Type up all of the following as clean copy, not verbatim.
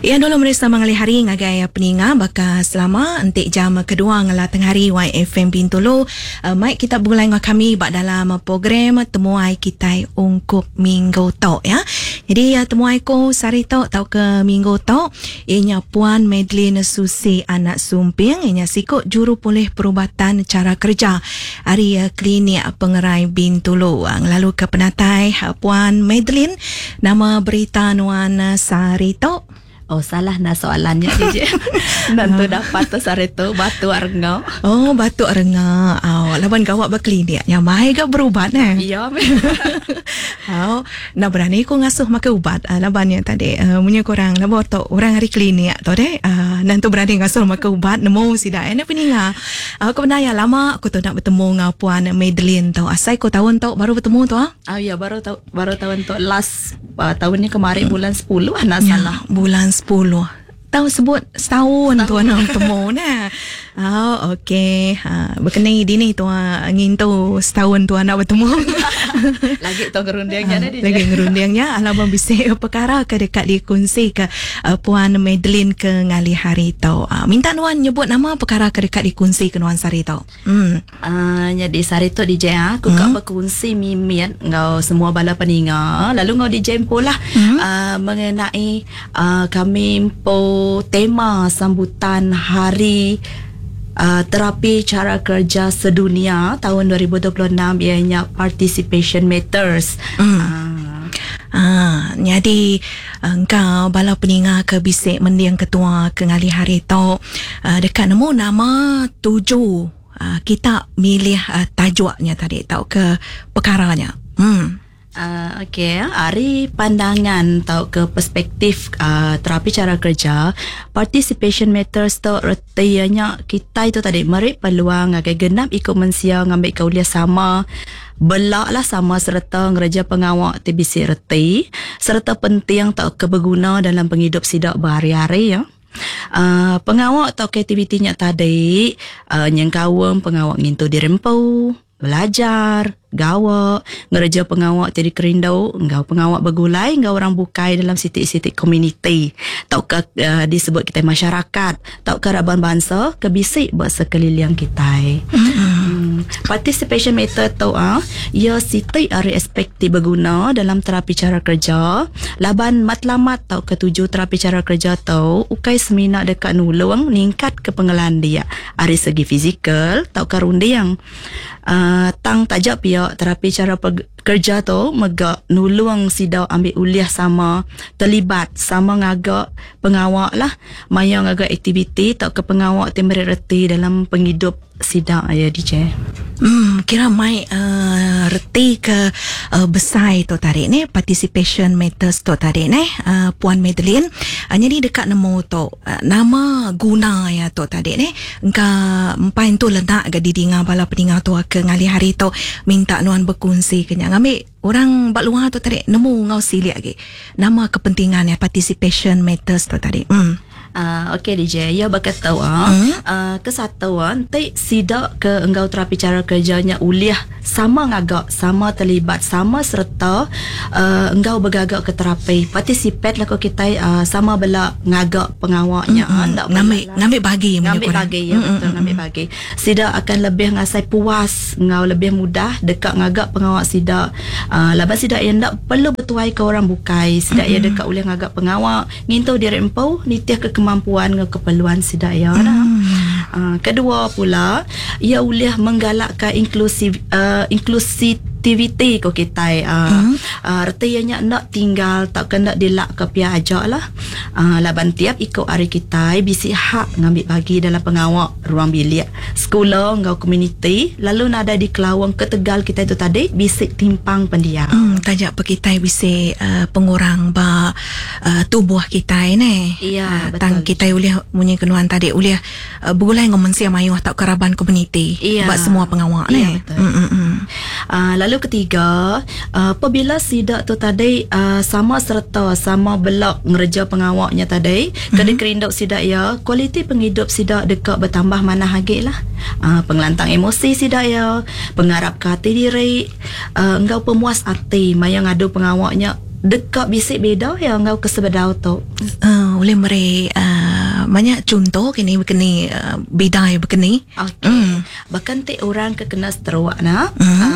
Iya dulu meri selamat ngalih hari ngagai peninga baka selama enti jam kedua ngela tengah hari YFM Bintulu mai kita begulai enggau kami ba dalam program temuai kitai ungkup minggu tu ya. Jadi temuai ku sehari tu tauka minggu tu iya nya Puan Madeline Susi Anak Sumping, iya nya siku juru pulih perubatan chara kereja ari Klinik Pengerai Bintulu. Ngelalu ke penatai Puan Madeline, nama berita nuan sehari tu? Oh salah nah soalannya DJ. Nentu dapat tu sehari tu batu renga. Oh batu renga. Oh laban gawa ba klinik nya mai ga berubat eh. Iya. Oh enda berani ku ngasuh makai ubat laban nya tadi munyi ku orang lebuh tu orang ari klinik tu deh nentu berani ngasuh makai ubat nemu sida eh peninga. Aku bendar iya lama aku tu enda betemu enggau Puan Madeline tu. Asai ku taun tu baru betemu tu ah. Oh iya baru tau baru taun tu last uh, tahun ni kemarin bulan 10 anak ya, salah. Bulan 10. Tahu sebut setahun tu anak betemu nah. Oh okey. Ha berkeni dini tu ngintu setahun tu anak betemu. Lagi tu ngerundingnya ha, Lagi ngerundingnya alaban bisi perkara ke dekat dikongsi ke Puan Madeline ke ngalih hari tu. Minta nuan nyebut nama perkara ke dekat dikongsi ke nuan sehari tu. Hmm. Uh, jadi sehari tu DJ ah, aku hmm. berkongsi mimit enggau semua bala peninga lalu enggau DJ empu lah hmm. uh, mengenai uh, kami empu tema sambutan hari uh, terapi cara kerja sedunia tahun 2026 ianya participation matters. Hmm. Uh, Ah, nyadi engka bala peninga ke bisi mending ketua ke ngalih hari tu uh, deka nemu nama tuju uh, kita milih uh, tajuk nya tadi tauka perkara nya. Hmm. Uh, Okey, ari pandangan tau ke perspektif uh, terapi cara kerja, participation matters tu reti nya kita itu tadi meri peluang ngagai genap ikut mensia ngambil ke ulia sama belak lah sama serta ngereja pengawak ti bisi reti serta penting tau ke berguna dalam penghidup sidak berhari-hari ya. Uh, pengawak atau aktivitinya tadi uh, nyengkawem pengawak ngintu dirempu, belajar, gawak, ngereja pengawak ti dikerindu, enggau pengawak begulai enggau orang bukai dalam sitik-sitik community tauka uh, disebut kita masyarakat tauka raban bangsa ke bisi ba sekeliling kita. Hmm. Participation method tu ah, ia siti ari aspek ti berguna dalam terapi cara kerja. Laban matlamat tauka tuju terapi cara kerja tu ukai semina dekat nulung ningkat ke pengelandia ari segi fizikal tauka runding. Tang tajak pihak terapi cara kerja tu megak nulung sida ambil uliah sama terlibat sama ngagak pengawak lah maya ngagak aktiviti tau ke pengawak ti meri reti dalam penghidup sida ya DJ. Kira mai reti ke besai tu tadi ni participation matters tu tadi ni Puan Madeline. Jadi dekat nemu tu nama guna ya tu tadi ni engka empai tu lenak ga didinga bala peninga tu ke ngalih hari tu minta nuan berkongsi ke nya ngambil orang bak luar tu tadi nemu ngau silik lagi nama kepentingan ya participation matters tu tadi. Okey DJ, ya berkata ke satu nanti sidak ke enggau terapi cara kerjanya uliah sama ngagak, sama terlibat, sama serta enggau bergagak ke terapi. Participate lah ko kita sama bela ngagak pengawaknya. Ngambil bagi, ngambil bagi ya betul, ngambil bagi. Sidak akan lebih ngasai puas, ngau lebih mudah dekat ngagak pengawak sidak. Laban sidak yang ndak perlu bertuai ke orang bukai, sidak ya dekat uliah ngagak pengawak, ngintu diri empu, nitih ke kemampuan dengan keperluan sidak ya. Kedua pula, ia boleh menggalakkan inklusif inklusiviti ko kita. Artinya nak tinggal tak kena dilak ke pihak ajak lah. Laban tiap ikut hari kita bisi hak ngambil bagi dalam pengawak ruang bilik sekolah enggau community lalu nada di kelawang ke Tegal kita itu tadi bisi timpang pendiam. Tajak pe kita bisi pengurang ba tubuh kita ni. Ya, betul. Tang kita boleh munyi kenuan tadi boleh bergulai dengan mensia mayuh atau keraban komuniti ya. Buat semua pengawak ya, ni. Betul. Lalu ketiga, apabila sidak tu tadi sama serta sama belak ngereja pengawaknya tadi, kena kerinduk sidak ya, kualiti penghidup sidak dekat bertambah mana lagi lah. Pengelantang emosi sidak ya, pengarap ke hati diri, enggau pemuas hati maya ngadu pengawaknya Deka bisi beda ya ngau ke sebedau tu. Ulih meri banyak contoh kini bekeni bida ya bekeni. Okey. Bahkan ti orang ke kena stroke na,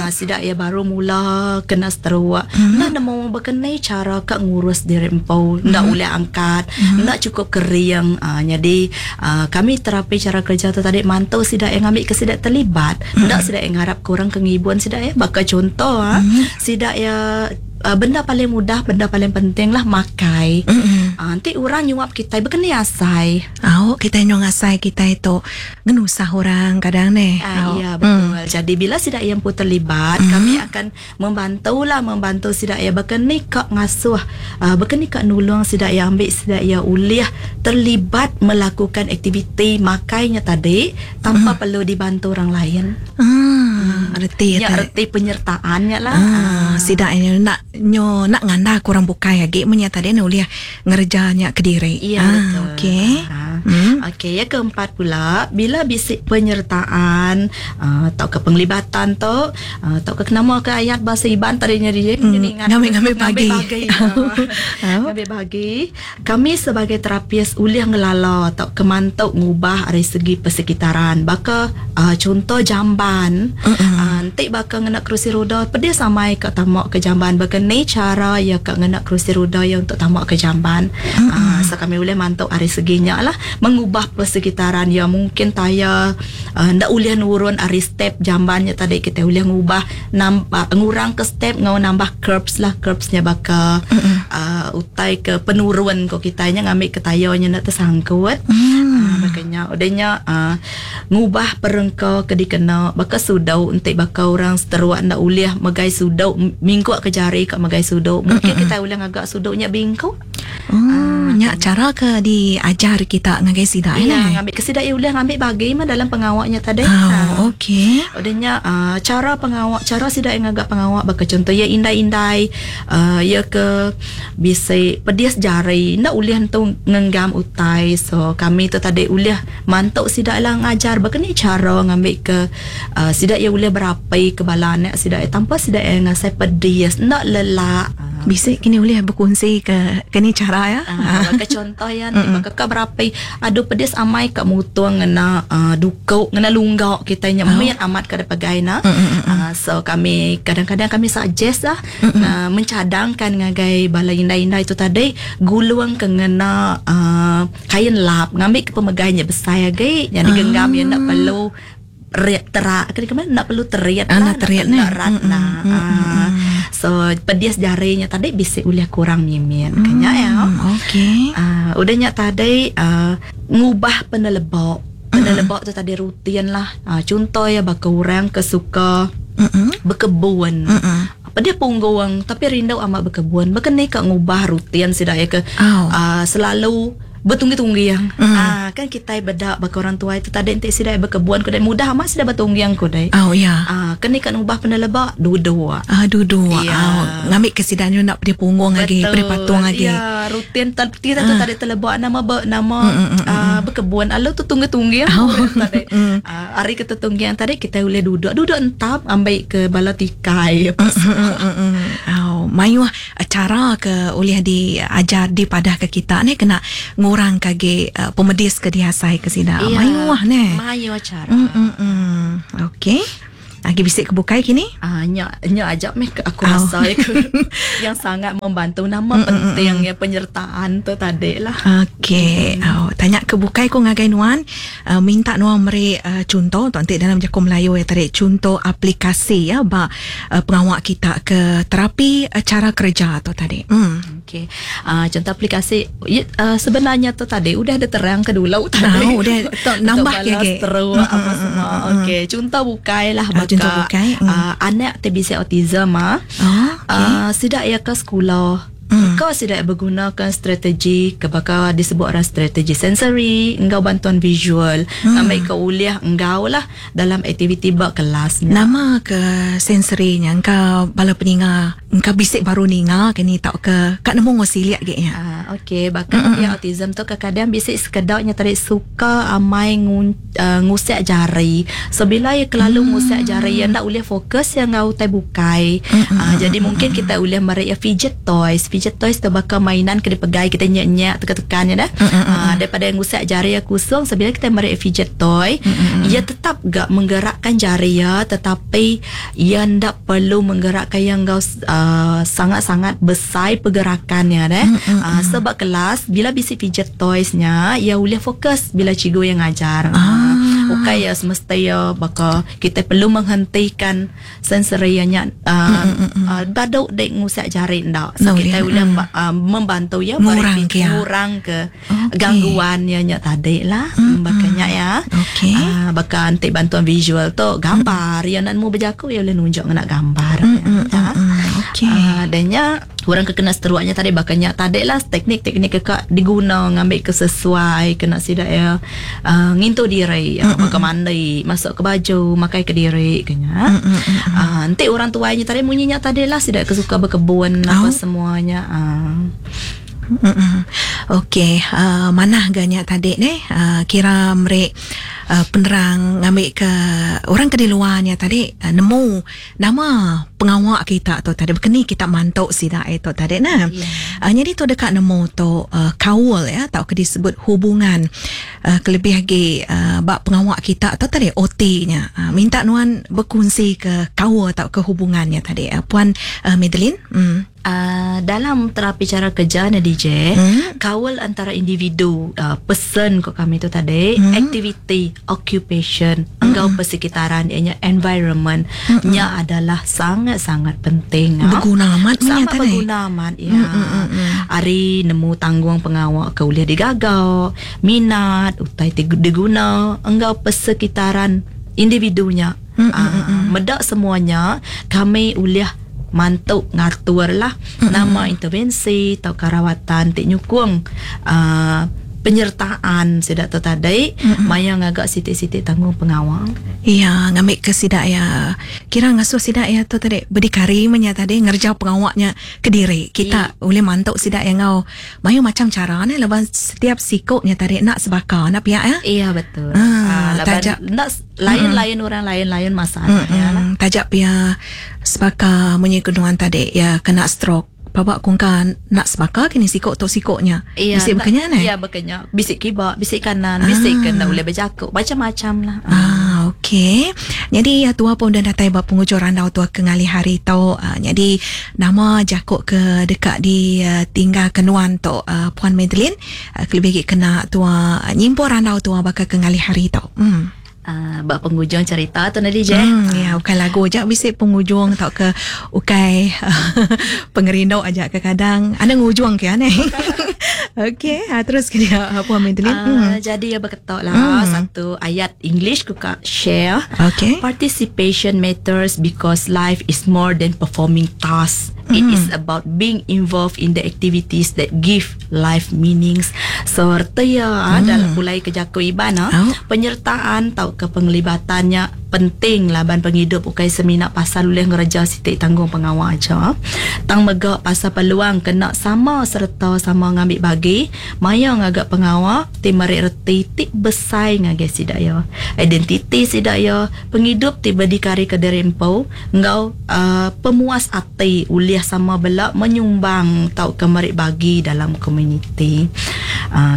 sida ya baru mula kena stroke, enda nemu bekeni cara ka ngurus diri empu, enda ulih angkat, enda cukup kering. Jadi kami terapi cara kerja tu tadi mantu sida yang ngambil ke sida terlibat. Enda sida yang ngarap ke orang ke ngibun sida ya. Baka contoh sida ya benda paling mudah, benda paling penting lah makai. Nanti orang nyuap kita bekeni asai. Au, kita nyuap asai kita itu ngenusah orang kadang ni. Ya betul. Jadi bila sida yang pun terlibat, kami akan membantu lah, membantu sida yang bekeni kak ngasuh, bekeni kak nulung sida yang ambil sida yang ulih terlibat melakukan aktiviti makainya tadi tanpa perlu dibantu orang lain. Reti ya, reti penyertaannya lah. Sida ini nak nyo nak nganda kurang bukai lagi menya tadi ni ulih ngerjanya ke diri. Ya, betul. Okey. Okey, yang keempat pula bila bisik penyertaan atau ke penglibatan tu atau ke nama ke ayat bahasa Iban tadinya dia ingat ngambil bagi. Ngambil bagi. Kami sebagai terapis ulih ngelala atau kemantuk ngubah dari segi persekitaran. Baka contoh jamban, nanti baka ngena kerusi roda pedih samai ke tamak ke jamban. Baka ni cara ya ke ngena kerusi roda ya untuk tamak ke jamban. So kami boleh mantuk dari seginya lah mengubah persekitaran ya mungkin tayar ndak ulih nurun ari step jambannya tadi kita ulih ngubah nambah ngurang ke step ngau nambah curbs lah, curbsnya baka utai ke penurun ko kitanya ngambil ke tayarnya nak tersangkut. Makanya udahnya ngubah perengka ke dikena baka sudau entik baka orang seteruak ndak ulih megai sudau mingkuk ke jari ke megai sudau mungkin kita ulih ngagak sudaunya bingkuk. Nyak cara ke diajar kita ngagai sida ya, ngambil ke sida ulih ngambil bagi mah dalam pengawaknya tadi. Okey. Udahnya cara pengawak, cara sida yang ngagak pengawak baka contoh ya indai-indai ya ke bisa pedis jari ndak ulih entu ngenggam utai. So kami tu tadi ulih mantuk sida lah ngajar baka ni cara ngambil ke sida ya ulih berapi ke bala anak sida tanpa sida yang ngasai pedis ndak lelak. Bisa kini boleh berkongsi ke kini cara ya. Baka contoh ya nanti baka ka berapi adu pedis amai ka mutung ngena dukuk ngena lunggak kita nya miat amat ka pegai na. So kami kadang-kadang kami suggest lah mencadangkan ngagai bala indai-indai itu tadi gulung ke ngena kain lap ngambil ke pemegainya besar lagi jadi genggam ya nak perlu terak ke mana nak perlu teriak lah, nak teriak ni rat nah. So pedis jarinya tadi bisa ulih kurang mimin kenya ya. Okey. Udahnya tadi ngubah penelebok. Penelebok tu tadi rutin lah. Contoh ya baka orang ke suka berkebun. Apa dia punggung tapi rindu amat berkebun. Berkeni kak ngubah rutin sida ya ke selalu bertunggi-tunggi yang kan kita bedak baka orang tua itu tadi entik sida berkebun kudai mudah amat sida bertunggi yang kudai. Oh ya. Kena kan ubah penelebak duduk. Duduk. Ya. Ngambil ke sida nak pergi punggung lagi, pergi patung lagi. Ya, rutin kita tu tadi telebak nama nama berkebun. Lalu tu tunggu-tunggi yang tadi. Hari kita tunggi yang tadi kita boleh duduk. Duduk entap ambil ke bala tikai. Mayuh cara ke oleh diajar dipadah ke kita ni kena ngurang kage pemedis ke dihasai ke sida. Ya, mayuh ni. Mayuh cara. Okey. Lagi bisik ke bukai kini? Nya ajak meh aku rasa yang sangat membantu nama penting ya penyertaan tu tadi lah. Okey. Tanya ke bukai ko ngagai nuan, minta nuan meri contoh tu nanti dalam jaku Melayu ya tadi contoh aplikasi ya ba pengawak kita ke terapi cara kerja tu tadi. Okey. Contoh aplikasi sebenarnya tu tadi udah ada terang ke dulu tadi. Udah nambah lagi. Terus apa semua. Okey, contoh bukai lah contoh bukai. Anak TBC autism sidak ya ke sekolah. Kau sidak bergunakan strategi kebakar disebut orang strategi sensory engkau bantuan visual ngambil ke uliah engkau lah dalam aktiviti bak kelas. Nama ke sensorinya engkau bala peninga engkau bisik baru ninga kini tak ke kat nemu ngosiliak ge ya. Okey, bahkan dia autism tu kadang-kadang bisik sekedaknya tadi suka amai ngusik jari. So bila ia kelalu ngusik jari ya ndak boleh fokus yang ngau tai bukai. Jadi mungkin kita boleh merek ya fidget toys. Fidget toys tu baka mainan ke dipegai kita nyak-nyak tekan-tekan nya dah. Daripada ngusak jari iya kusung, so bila kita meri fidget toy, iya tetap ga menggerakkan jari iya tetapi iya enda perlu menggerakkan iya enggau sangat-sangat besai pergerakan iya deh. So ba kelas bila bisi fidget toys nya, iya ulih fokus bila cikgu iya ngajar. Ukai iya semesti iya baka kita perlu menghentikan Sensory iya nya badu dek ngusak jari enda. So kitai ulih membantu iya ngurang ke ngurang ke gangguan iya nya tadi lah. Baka nya ya. Baka enti bantuan visual tu gambar iya enda nemu bejaku iya ulih nunjuk ngena gambar. Dah nya orang ke kena seteruk nya tadi baka nya tadi lah teknik-teknik ke ka diguna ngambi ke sesuai kena sida iya ngintu diri baka mandi, masuk ke baju, makai kediri ke nya. Enti orang tuai nya tadi munyi nya tadi lah sida ke suka bekebun apa semua nya. Okey, manah ga nya tadi neh kira meri penerang ngambi ke orang ke di luar nya tadi nemu Nama pengawa kita tu tadi baka ni kita mantu sida iya tu tadi nah. Yeah. Nyadi tu deka nemu tu kaul ya tauka disebut hubungan kelebih agi ba pengawa kita tu tadi OT nya. Minta nuan bekunsi ke kaul tauka hubungan nya tadi. Puan Madeline. Dalam terapi chara kerja ne DJ, kaul antara individu, person ko kami tu tadi, aktiviti, occupation enggau persekitaran iya nya environment nya adalah sangat-sangat penting. Beguna amat meh nya tadi. Sangat beguna amat iya. Ari nemu tanggung pengawa ke ulih digaga, minat, utai ti diguna enggau persekitaran individu nya. Meda semua nya kami ulih mantu ngatur lah nama intervensi tauka rawatan ti nyukung penyertaan sida tu tadi maya ngaga siti-siti tanggung pengawa. Iya ngambika sida iya kira ngasuh sida iya tu tadi berdikari meh nya tadi ngereja pengawa nya kediri. Kita ulih mantu sida iya enggau mayuh macham chara neh laban setiap siku nya tadi enda sebaka enda pia iya. Iya betul. Laban enda Lain-lain orang lain-lain masalah iya lah. Taja pia sebaka munyi ke nuan tadi iya kena stroke paba ku engka enda sebaka kini siko tu siko nya. Iya, Bisi baka nya neh. Iya baka nya. Bisi kiba, bisi kanan, bisi ke enda ulih bejaku, macam-macam lah. Ah okey. Nyadi tua pun udah datai ba pengujung randau tua ke ngalih hari tu. Nyadi nama jaku ke deka ditinggalka nuan tu Puan Madeline kelebih agi kena tua nyimpul randau tua baka ke ngalih hari tu. Ba pengujung cerita tu nadi je. Ya ukai lagu aja bisi pengujung tauka ukai pengerindu aja kekadang ada ngujung ke aneh. Okey, terus ke dia Puan Madeline. Jadi ya beketok lah satu ayat English ku ka share. Okey. Participation matters because life is more than performing tasks. It is about being involved in the activities that give life meanings. So reti iya dalam pulai ke jaku Iban penyertaan tauka pengelibatan nya penting laban pengidup ukai semina pasal ulih ngereja siti tanggung pengawa aja tang mega pasal peluang kena sama sereta sama ngambi bagi maya ngaga pengawa ti meri reti ti besai ngagai sida iya, identiti sida iya, pengidup ti bedikari ke diri empu enggau pemuas ati ulih sama bela menyumbang tauka meri bagi dalam komuniti.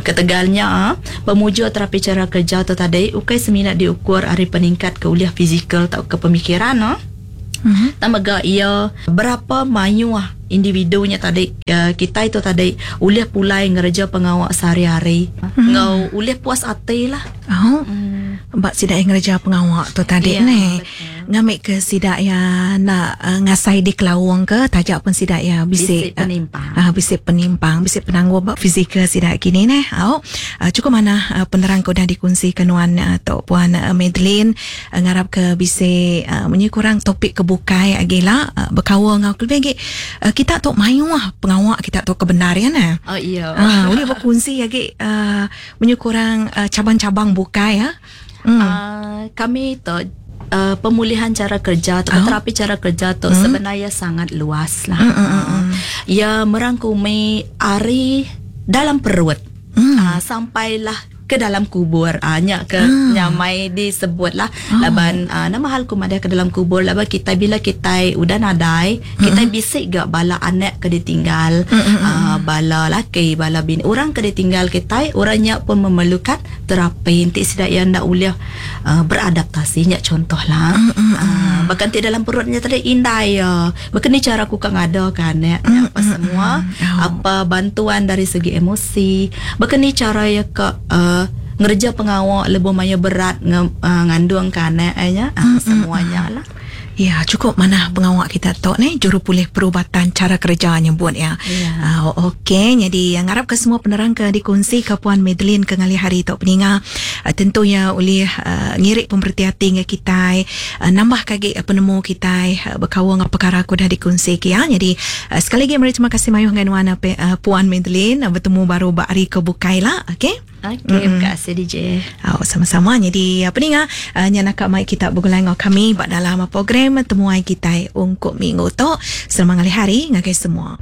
Ketegal nya, pemujur terapi chara kereja tu tadi ukai semina diukur ari peningkat ke ulih fizikal tauka pemikiran tang mega iya berapa mayuh individu nya tadi kitai tu tadi ulih pulai ngereja pengawa sehari-hari enggau ulih puas ati lah. Ba sida iya ngereja pengawa tu tadi neh. Ngambika sida iya enda ngasai dikelaungka taja pun sida iya bisi penimpang, bisi penimpang, bisi penanggul ba fizikal sida kini neh. Au chukup manah penerang ke udah dikunsika nuan tu Puan Madeline. Ngarapka bisi munyi kurang topik ke bukai agi ila bekaul enggau kelebih agi kita tu mayuh pengawa kita tu ke bendar iya neh. Oh iya. Ulih bekunsi agi munyi kurang cabang-cabang bukai. Kami tu pemulihan cara kerja atau terapi cara kerja tu sebenarnya sangat luas lah. Ia merangkumi ari dalam perut sampailah. ke dalam kubur. Nya ke nyamai disebut lah. Laban nama hal ku madah ke dalam kubur laban kitai bila kitai udah nadai, kitai bisi ga bala anak ke ditinggal, bala laki, bala bini. Orang ke ditinggal kitai, orang nya pun memerlukan terapi enti sida iya enda ulih beradaptasi nya contoh lah. Bahkan ti dalam perut nya tadi indai iya. Baka ni cara ku ka ngada ke anak nya apa semua, apa bantuan dari segi emosi, baka ni cara iya ka ngereja pengawa lebuh maya berat ngandung ke anak iya nya, semua nya lah. Ya, cukup manah pengawa kita tu ni jurupulih perubatan cara kerja nyebut ya. Okey, jadi ngarap ke semua penerang ke dikongsi ke Puan Madeline ke ngalih hari tu peninga tentunya ulih ngirik pemereti ati ngan kitai, nambah ke agi penemu kitai bekaul enggau perkara ke udah dikongsi ke ya. Jadi sekali lagi meri terima kasih mayuh ngan nuan Puan Madeline, betemu baru ba hari ke bukai lah. Okey. Okey, terima kasih DJ. Oh, sama-sama. Jadi peninga nya naka mai kita begulai enggau kami ba dalam program temuai kitai ungkup minggu tu. Selamat ngalih hari ngagai semua.